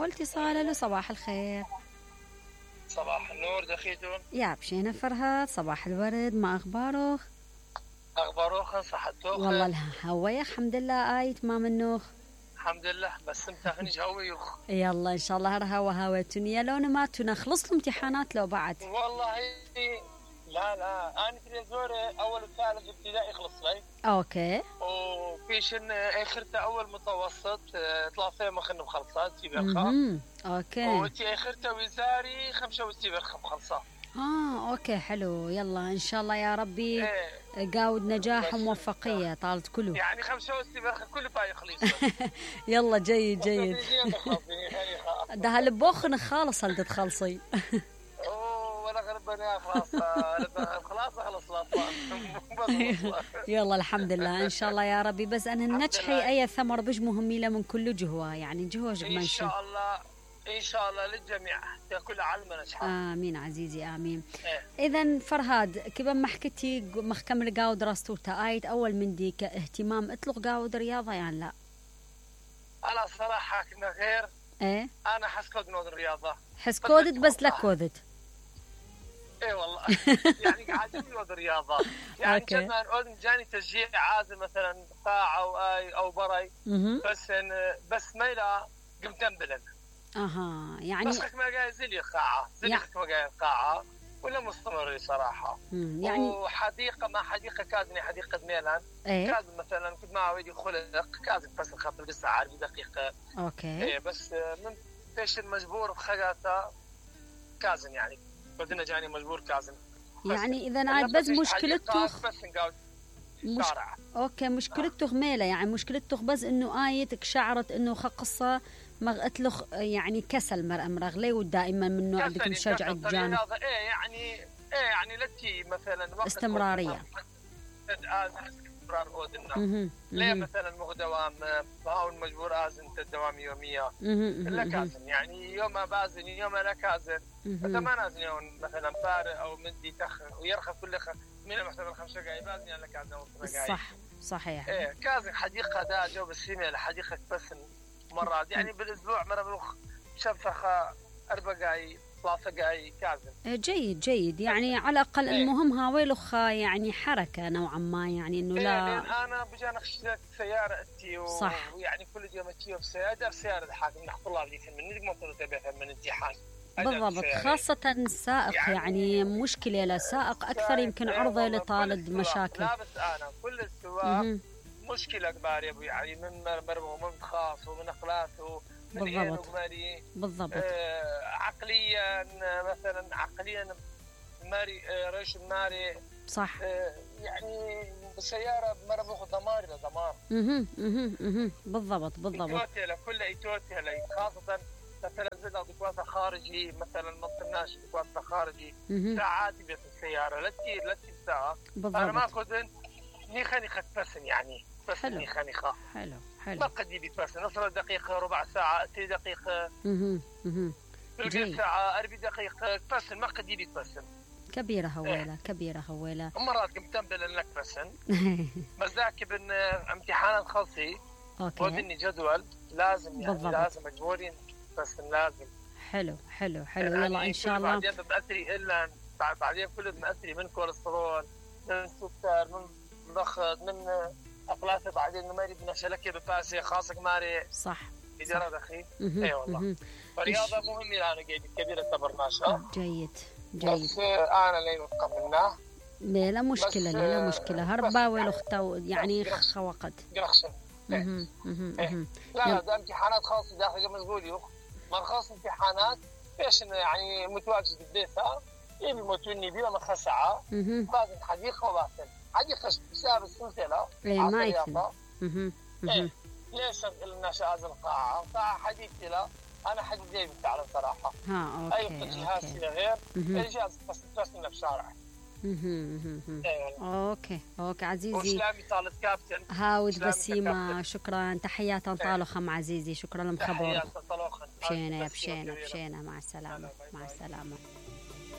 اول اتصال. له صباح الخير. صباح النور دخيتون. يا بشينا فرهاد، صباح الورد، ما اخبارك؟ اخباروخ صحتوخ؟ والله الهوية الحمد لله. ايت ما منوخ الحمد لله، بس امتحنش هويوخ. يلا ان شاء الله هرها وهاوتوني يا لون ما تونا خلص الامتحانات لو بعد. والله لا انا في زوري اول وثالث ابتدائي خلص لي. اوكي. وفيشن اخرته اول متوسط 3 مخن مخلصات تيبرخا. اوكي. وتي اخرته وزاري 5 وتيبرخا مخلصات. اوكي حلو. يلا ان شاء الله يا ربي قاود نجاح وموفقيه طالت كله. يعني 5 وتيبرخا كله باي خليص. يلا جيد جيد. ده هالبوخن خالص هل تتخلصي. ربنا خلاص يلا الحمد لله ان شاء الله يا ربي. بس انا النجحي اي ثمر بج مهميله من كل جهوه، يعني جهوه ان شاء الله ان شاء الله للجميع كل علم نجاح. امين عزيزي امين. اذا فرهاد كيف ما حكيتي مخكمل قاود دراسته تايت اول من ديك اهتمام اطلق قاود رياضه يعني لا؟ انا صراحه كنا غير انا حسكود نود الرياضه حسكودت بس لا كودت. اي والله يعني قاعد نود الرياضه يعني كنا نقول جاني تشجيع عازل مثلا ساعه او بري بس ما لا قمت انبلن. يعني بس ما قاعد زلي قاعه ما قاعد قاعه ولا مستمر صراحه. يعني وحديقه ما حديقه كازني حديقه ميلان كازن مثلا كنت مع ولدي خلق كازن بس خاطر لسه عارف دقيقه. اوكي. بس من فيش المجبور بخجاته كازن يعني بدنا جاني مجبور كازن. يعني اذا عاد بس مشكلته اوكي مشكلته غميله يعني مشكلته بس انه ايتك شعرت انه قصه مغتلخ يعني كسل مرغلي ودائما من نوع بدك مشجع الجانب. يعني لتي مثلا وقت استمراريه. استمرار اودنا. ليه مثلا مغدوام باو المجبور ازن الدوام يوميه. لا كازن يعني يوم بازن يوم لا كازن. فما نازن يوم مثلا فارق او مدي تخ ويرخى كل من مثلا 5 دقائق بازن يعني كازن صح صحيح. كازن حديقه دا جو بس هي حديقه بس مرات يعني بالاسبوع مره بروح شفخه 4 دقائق 3 دقائق كازن. جيد جيد يعني على الاقل المهم هاويلخ يعني حركه نوعا ما يعني انه لا. انا بجانا اشتريت سياره اتي صح. ويعني كل يوم اتي سياره الحاكم نحط الله عليك من مطر تبعها من امتحان بالضبط خاصة السائق يعني مشكلة لسائق أكثر يمكن عرضة لطالب مشاكل. لا بس أنا كل السواق مشكلة كبار يا أبوي يعني من مربه ومن خاص ومن أخلاقه بالضبط بالضبط. عقليا مثلا عقليا ماري ريش ماري صح. يعني بالسيارة مرة دمار لدمار. بالضبط إيتوتيلا كل إيتوتيلا خاصة مثلا زد دكوات خارجي مثلا ما قلناش دكوات خارجي ساعات بيت السيارة لا تطير ساعة. أنا ما أخذ نيخاني بسن يعني بس نيخاني حلو ما قد يبي بس نص دقيقة ربع ساعة 3 دقيقة ربع ساعة 4 دقيقة بس ما قد يبي بس كبيرة هويلة كبيرة هويلة. مرات كنت تنبل لك بسن بس ذاك بن امتحانات خاصي ودني جدول لازم يعني بالضبط. لازم مجبورين بس لازم. حلو يلا ان شاء الله. بعدين بمأثري الا بعدين كله بمأثري من كوليسترول من سكر من ضغط من أقلاته بعدين ما يريد نشلك بفاسي خاصك ماري صح إدارة أخي. أي والله فرياضة مهمة أنا قاعد كبيرة تبرناشها. جيد بس أنا لين أتقبلنا لا مشكلة لا مشكلة هربا ولختو يعني خوقت قرخشن. لا ده امتحانات خاصة داخل مسؤولي ما خاص امتحانات إيش يعني متواجد بالبيسة يبي موتوني بلا مخسعة بازن حديقة وباسن حديقة بسبب السلسلة ما يفهم. ليش الناس هذه القاعة حديقتي لا أنا حديقتي بتعرف صراحة. أوكي. أي جهاز غير الجهاز بس ترسلنا بشارع. اوكي عزيزي وسلامي طالت كابتن هاود بسيمة شكرا تحيات طالخم عزيزي شكرا لمخبر بشينا مع السلامة